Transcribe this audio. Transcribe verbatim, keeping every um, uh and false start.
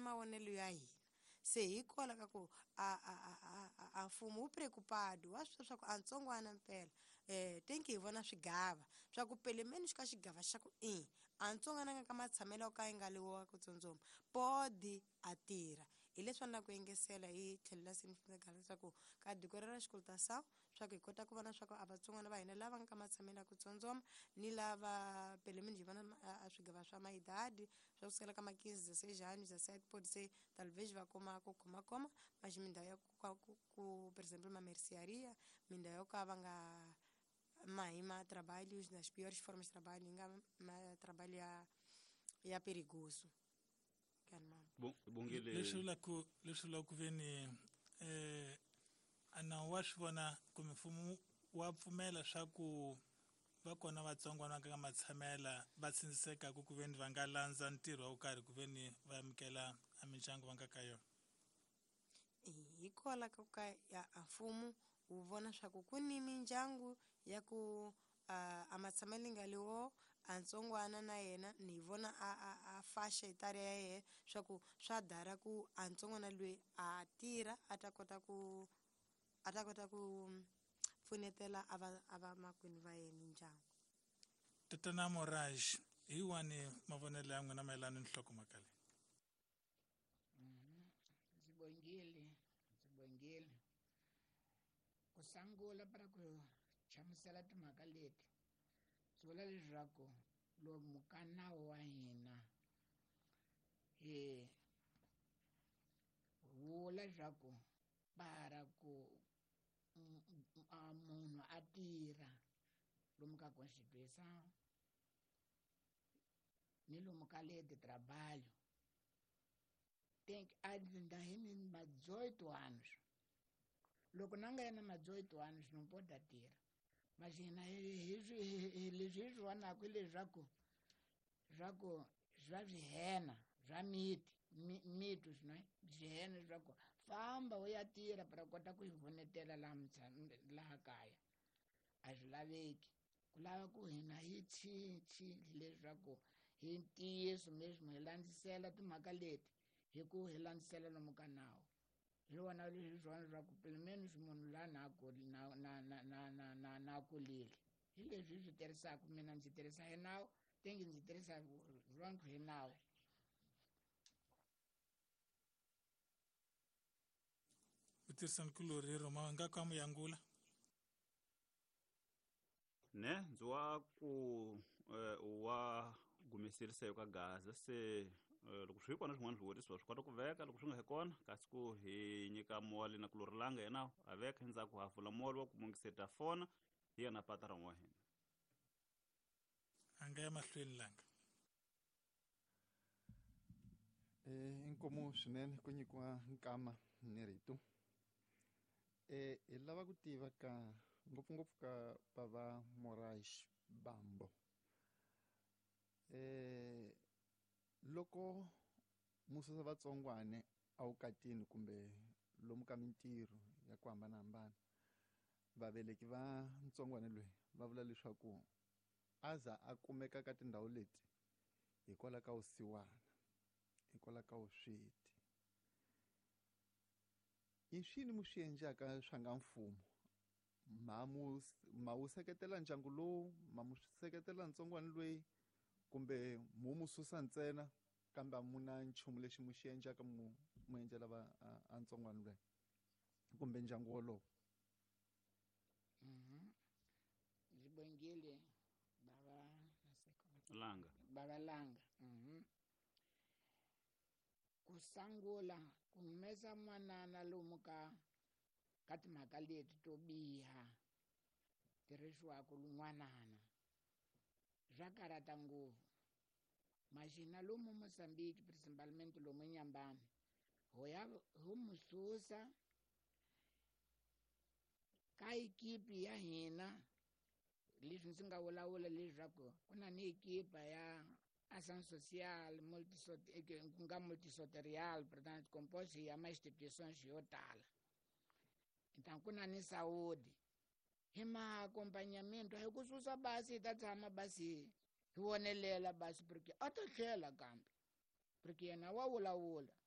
mavonelo ya hina. Se hikola ka ku a a a a mfumo wu preocupado wa swi swa ku a ntsongwana mpela eh tenki hi vona swigava swa ku pelemeni xi ka xigava xa ku i a ntsongwana nga ka matshamelo ka yi nga le wa ku tsundzuma podi a tirha hi leswi na ku engesela hi tlhelela significant leswaku ka diko ra xikolo swa ku hi kota ku vona swa ku a vatsongwana va hina lava nga ka matshamelo ya ku tsundzuma ni lava pelemeni hi vona a swigava swa maidadi swa ku sukela ka ma quinze dezesseis anos dezessete pode ser talvez va kuma ku khoma khoma mas mindhawu ya ku ku por exemplo uma mercearia mindhawu yo ka va nga mahi ma trabalhos nas piores formas de trabalho nga ma trabalho ya ya perigoso. Bom, bongele leswi vula ku leswi vula ku veni eh ana wa swi vona kumbe mfumo wa pfumela swa ku va kona vatsongwana ka matshamela va tsindziseka ku veni va nga landza ntirho wa karhi ku veni va amukela a mindyangu va nga ka yona. Hikola ka ka ya mfumo wu vona swa ku ku ni mindyangu ya ku a matshamelo nga lewo a ntsongwana na yena ni vona a a a faixa etária ya yena swa ku swa dara ku a ntsongwana loyi a tirha a ta kota ku a ta kota ku pfunetela a va a va makwenu va yena ndyangu. Tatana Moraj, hi wani mavonelo ya n'wina mayelana ni nhlokomhaka leyi? Ndzi bongile ndzi bongile ku sungula para ku hlamusela timhaka leti swi vula leswaku lomu ka nawu wa hina hi vula leswaku para ku munhu a tirha lomu ka Constituição ni lomu ka lei de trabalho tem que andar em dezoito anos. Loko na nga yena ma dezoito anos não pode tirha. Mas hina hi leswi hi swi vonaka hi leswaku swa swa swihena swa miti miti swinene swihena leswaku famba u ya tirha para kota ku hi vonetela laha laha kaya a swi laveki ku lava ku hina hi cinci leswaku hi ntiyiso mesmo hi landzisela timhaka leti hi ku hi landzisela lomu ka nawu. Hi vona leswi swona leswaku pelo menos munhu laha na na na na na na na na kulile hi leswi hi swi tirhisaka mina ndzi tirhisa hi nawu tengi ndzi tirhisa rona hi nawu. Mutirhisanikulori Roma nga ka muyangula ne ndzi wa ku wa gumeserisa ka Gaza se loko swi kona swin'wana swivutiso swi kota ku veka loko swi nga he kona kasi ku hi nyika moli na kulori langa yena a veka endzhaku ha pfula moli wa ku mungiseta fona hi yena patron wa hina. A nga ya mahlweni langa. Eh inkomu swinene ku nyikiwa nkama ni rito. Eh hi lava ku tiva ka ngopfungopfu ka bava Moraes Bambo. Eh loko mususa vatsongwane a wukatini kumbe lomu ka mintirho ya ku hambanahambana vaveleki va ntsongwane loyi va vula leswaku a za a kumeka ka tindhawu leti hikwalaho ka vusiwana hikwalaho ka vusweti i swini mu swi endlaka swa nga mfumo ma mu ma wu seketela ndyangu lowu ma mu seketela ntsongwana loyi kumbe mu mu susa ntsena kambe a mu na nchumu lexi mu xi endlaka mu mu endlela va a ntsongwana loyi kumbe ndyangu wolowo. Mhm. Ndzi bongile baba Langa. Baba Langa. Mhm. Ku sungula ku humesa n'wanana lomu ka ka timhaka leti to biha tirhisiwaka n'wanana swa karhata ngopfu. Mas hina lomu Mozambique principalmente lomu Inhambane ho ya ho mu susa ka ekipi ya hina leswi ndzi nga vulavula leswaku ku na ni ekipa ya ação social ku nga multisoterial portanto composto ya ma instituições yo tala. Então ku na ni saúde hi ma acompanhamento hi ku susa basi hi ta tshama basi hi vonelela basi porque a ta tlhela kambe porque yena wa vulavula.